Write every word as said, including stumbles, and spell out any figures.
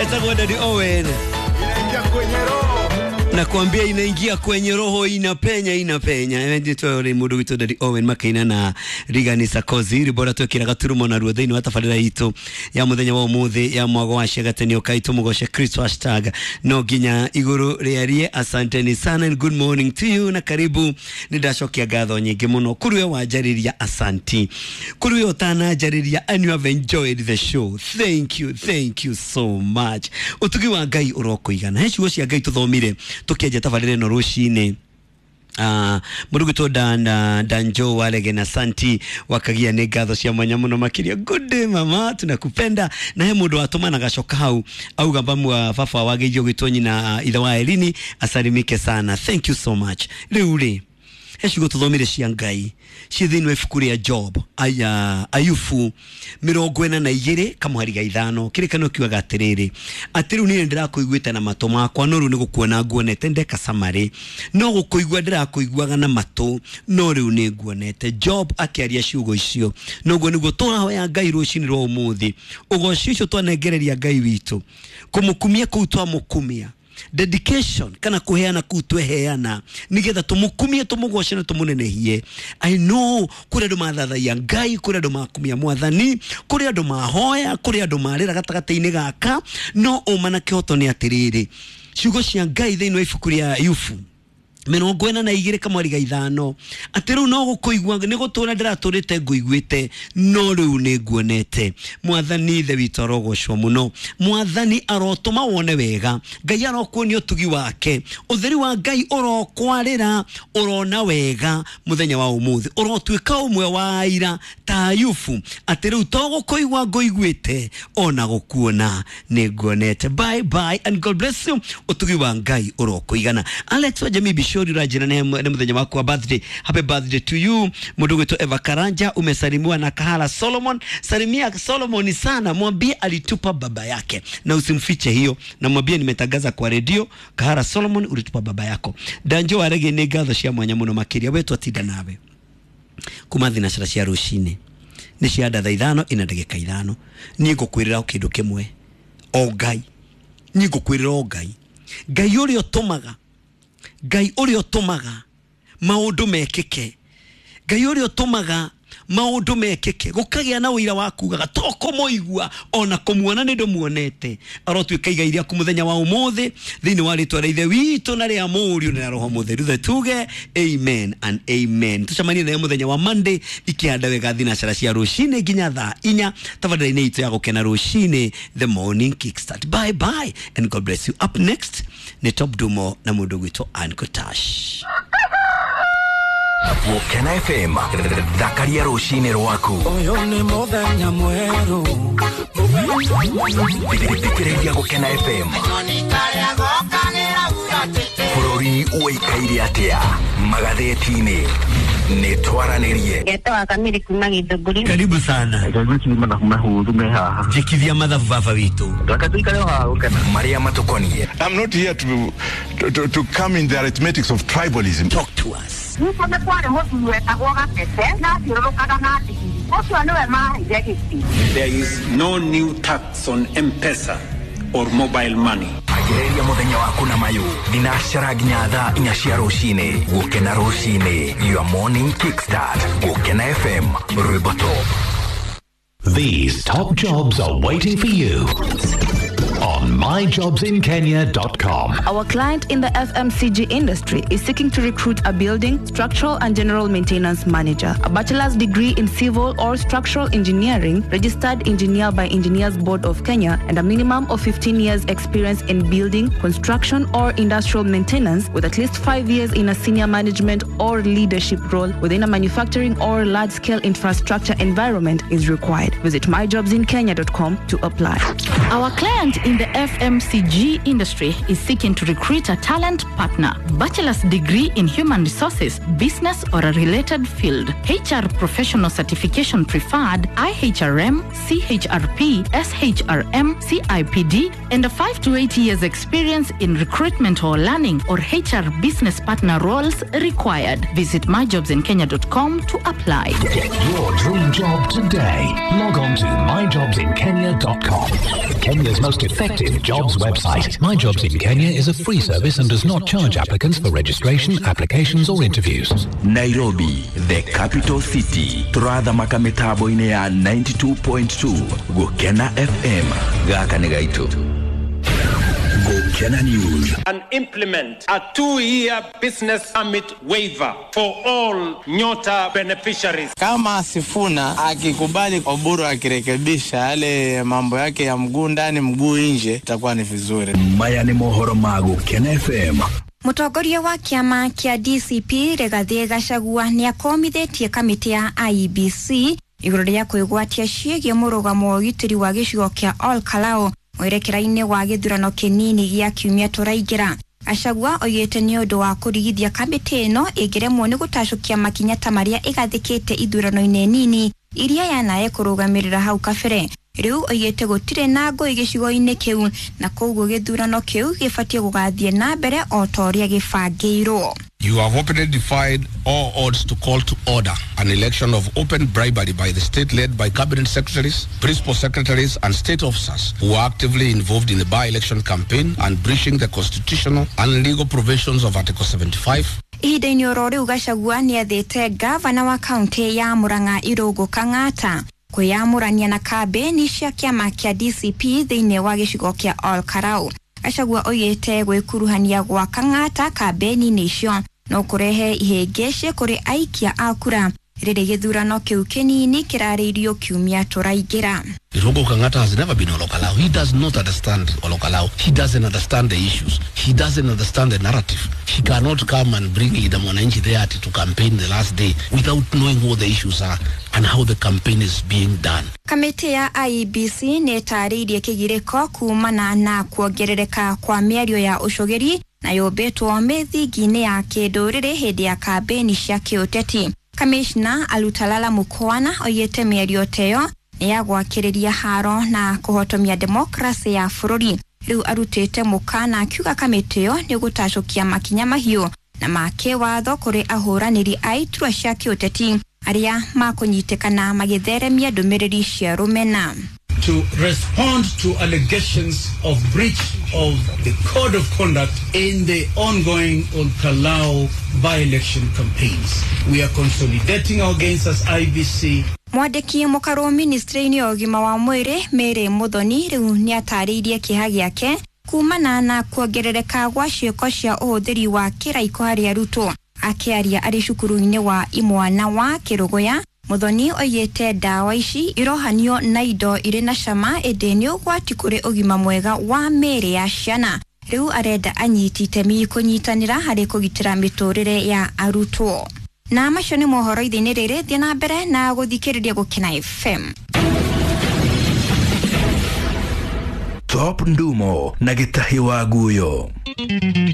Etagwo Daddy Owen. Inaingia kwenye roho. Nakwambia inaingia kwenye roho, inapenya inapenya. Nditwo ri mundu witũ Daddy Owen makaina na Rigani Sarkozy ribora twikiraga turumo na ruo thiini wa tabarĩra itũ ya muthenya wa umuthi ya mwago wa ciagateni ukai tumugoce Kristo hashtag no nginya iguru riarie. Asanteni sana and good morning to you na karibu. Ni ndacokia ngatho nyingi muno kuri we wanjariria, asanti kuri we utananjariria, and you have enjoyed the show, thank you, thank you so much. Utugi wa Ngai urokuigana. He ciugo cia Ngai tuthomire tukianjia tabarĩra ĩno rũcinĩ. Uh, mũndũ dan uh, Danjo Warege na Santi wakagia nĩ ngatho cia mwanya mũno makĩria. Good day mama, tunakupenda. Na he mũndũ watũma na gacoka hau auga mbamu wa baba wageithio gwĩtwo nyina ithe wa Elini asalimike sana, thank you so much. Rĩu rĩ he ciugo tũthomire cia Ngai ciĩ thĩinĩ wa ibuku rĩa Job aya Ayubu mĩrongo ĩna na igĩrĩ kamũhari ga ithano kĩrĩkanĩro kiugaga atĩrĩrĩ atĩ rĩu niĩ ndĩrakũiguĩte na matũ makwa no rĩu nĩ gũkuona nguonete ndeka summary no gũkũigua ndĩrakũiguaga na matũ no rĩu nĩ nguonete. Job akĩaria ciugo icio noguo nĩguo tũrahoya Ngai rũcinĩ rwa ũmũthĩ ũgoci ũcio twanengereria Ngai witũ kũmũkumia kũu twamũkumia dedication kana kuheana kuu tweheana nigetha tumukumie tumugoce na tumunenehie. I know kuri andu mathathaia Ngai, kuri andu makumia mwathani, kuri andu mahoya, kuri andu marira gatagati-inĩ gaka, no uma na kihoto ni atiriri ciugo cia Ngai thĩinĩ wa ibuku rĩa Ayubu mĩrongo ĩna na igĩrĩ kamweri ga ithano atĩ rĩu no gũkũigua nĩ gũtũra ndĩratũrĩte ngũiguĩte no rĩu nĩ nguonete. Mwathani ithe witũ arogocwo mũno, mwathani arotũma wone wega, Ngai arokuonia ũtugi wake, ũtheri wa Ngai ũrokwarĩra, ũrona wega mũthenya wa ũmũthĩ, ũrotuĩka ũmwe wa aira ta Ayubu atĩ rĩu to gũkũigua ngũiguĩte ona gũkuona nĩ nguonete. Bye bye and God bless you. Ũtugi wa Ngai ũrokũigana. Alex wa Jamii Bishori urajira nĩ mũthenya waku wa birthday, happy birthday to you. Mũndũ gwitũ Eva Karanja umesalimiwa na Kahala Solomon, salimia Solomon sana, mwambie alitupa baba yake na usimfiche hiyo, na mwambie nimetangaza kwa redio Kahala Solomon ulitupa baba yako. Danjo Warege nĩ ngatho cia mwanya mũno makĩria we twatinda nawe kuma thinacara cia rũcinĩ nĩ cia ndatha ithano ina ndagĩka ithano. Niĩ ngũkwĩrĩra kĩndũ kĩmwe o Ngai, niĩ ngũkwĩrĩra o Ngai, Ngai ũrĩa ũtũmaga, Ngai ũrĩa ũtũmaga maũndũ mekĩke, Ngai ũrĩa ũtũmaga maũndũ mekĩke gũkagĩa na ũira wa kugaga to kũmũigua ona kũmuona nĩ ndũmuonete. Arotuĩka igai rĩaku mũthenya wa ũmũthĩ thĩinĩ wa rĩtwa rĩa Ithe witũ na rĩa Mũriũ na rĩa Roho Mũtheru the tuge amen and amen. Tũcemanie nawe mũthenya wa Monday ikĩhanda wega thinacara cia rũcinĩ nginya thaa inya tabarĩra-inĩ itũ ya gũkena rũcinĩ the morning kickstart. Bye bye and God bless you. Up next nĩ Top Dumo na mũndũ gwĩtwo Ann Kotash. Gũkena F M thakaria rũcinĩ rwaku. Ũyũ nĩ mũthenya mwerũ. Thikĩrĩria Gũkena F M. Bũrũri ũikaire atĩa magathĩti-inĩ nĩ twaranĩrie. Ngetwa Kamiri kuma Githũngũri. Karibu sana. Njikithia mathabu baba witũ. Marĩa matũkoniĩ. I'm not here to, to, to come in the arithmetics of tribalism. Talk to us. Nĩguo nĩ kwarĩ mũthuri wetagwo Gatete na athiũrũrũkaga na ndigiri. Ũcio nĩwe maheire gĩtĩ. There is no new tax on M-Pesa or mobile money. Anjĩrĩria mũthenya waku na mayũ thinacara nginya thaa inya cia rũcinĩ. Gũkena rũcinĩ, your morning kickstart. Gũkena F M, rwĩmbo top. These top jobs are waiting for you on my jobs in kenya dot com. Our client in the F M C G industry is seeking to recruit a building, structural and general maintenance manager, a bachelor's degree in civil or structural engineering, registered engineer by Engineers Board of Kenya, and a minimum of fifteen years experience in building, construction or industrial maintenance, with at least five years in a senior management or leadership role within a manufacturing or large-scale infrastructure environment is required. Visit my jobs in kenya dot com to apply. Our client in the F M C G industry is seeking to recruit a talent partner, bachelor's degree in human resources, business or a related field, H R professional certification preferred, I H R M, C H R P, S H R M, C I P D, and a five to eight years experience in recruitment or learning or H R business partner roles required. Visit my jobs in kenya dot com to apply. Get your dream job today. Log on to my jobs in kenya dot com. Kenya's most effective exclusive jobs website. My Jobs in Kenya is a free service and does not charge applicants for registration, applications or interviews. Nairobi, the capital city. Turathamaka mitambo-inĩ ya ninety-two point two Gukena F M. Gaka nĩ gaitũ. Gukena News. And implement a two-year business permit waiver for all Nyota beneficiaries. Kama Sifuna akikubali Oburu akirekebisha yale mambo yake ya mguu ndani mguu nje, itakuwa ni vizuri. Maya ni mohoro ma Gukena F M. Mutongoria wa kiama kia D C P Rigathi Gachagua ni akomithitie kamiti ya I E B C iguru ria kwigwatia ciĩgiĩ mũrũgamo wa ũgitĩri wa gĩcigo kĩa Ol Kalou mwerekera-inĩ wa gĩthurano kĩnini gĩa kiumia tũraingĩra. Gachagua oigĩte nĩ ũndũ wa kũrigithia kamĩtĩ ĩno ĩngĩremwo nĩ gũtacũkia makinya ta marĩa ĩgathĩkĩte ithurano-inĩ nini iria yanae kũrũgamĩrĩra hau kabere. Rĩu oigĩte gũtirĩ na ngũĩ gĩcigo-inĩ kĩu na koguo gĩthurano kĩu gĩbatiĩ gũgathiĩ na mbere o ta ũrĩa gĩbangĩirwo. You have openly defied all odds to call to order an election of open bribery by the state led by cabinet secretaries, principal secretaries and state officers who are actively involved in the by-election campaign and breaching the constitutional and legal provisions of Article seventy-five. Ihinda-inĩ oro rĩu Gachagua nĩathĩte gavana wa kaunti ya Murang'a Irũngũ Kang'ata kwĩyamũrania na kambĩini cia kĩama kĩa D C P thĩinĩ wa gĩcigo kĩa Ol Kalou. Gachagua oigĩte gwĩkuruhania gwa Kang'ata kambĩini-inĩ icio no kũrehe ihĩngĩcĩ kũrĩ aikia a kura rĩrĩ gĩthurano kĩu kĩnini kĩrarĩirio kiumia tũraingĩra. Irungu Kang'ata has never been Ol Kalou. He does not understand Ol Kalou. He doesn't understand the issues. He doesn't understand the narrative. He cannot come and bring the mwananchi there to campaign the last day without knowing what the issues are and how the campaign is being done. Kamĩtĩ ya I E B C nĩ ĩtarĩirie kĩgirĩko kumana na kuongerereka kwa mĩario ya ũcũgĩri na yũmbĩtwo mĩthingi-inĩ ya kĩndũrĩrĩ hĩndĩ ya kambĩini cia kĩũteti. Kamishna Alutalala Mukwana oigĩte mĩario ta ĩyo nĩ ya gwakĩrĩria haro na kũhotomia demokrasi ya bũrũri. Rĩu arutĩte mũkana akiuga kamĩtĩ ĩyo nĩ gũtacũkia makinya mahiũ na ma kĩwatho kũrĩ ahũranĩri a iturwa cia kĩũteti arĩa makũnyitĩkana magĩtheremia ndũmĩrĩri cia rũmena. To respond to allegations of breach of the code of conduct in the ongoing Ol Kalou by-election campaigns. We are consolidating our gains as I B C. Mwandĩki mũkarũ ministry-inĩ ya ũgima wa mwĩrĩ Mary Muthoni rĩu nĩatarĩirie kĩeha gĩake kumana na kuongerereka gwa ciĩko cia ũhũthĩri wa kĩraiko harĩ arutwo. Akĩaria arĩ cukuru-inĩ wa imwana wa Kĩrũgũya, Muthoni oigĩte ndawa ici irohanio na indo irĩ na cama ĩndĩ nĩ ũgwati kũrĩ ũgima mwega wa mĩĩrĩ ya ciana. Rĩu arenda anyiti itemi kũnyitanĩra harĩ kũgitĩra mĩtũrĩre ya arutwo. Na macio nĩ mohoro ithe-inĩ rĩrĩ, thiĩ na mbere na gũthikĩrĩria Gũkena F M. Top Ndumo na Gĩtahi wa Guyo.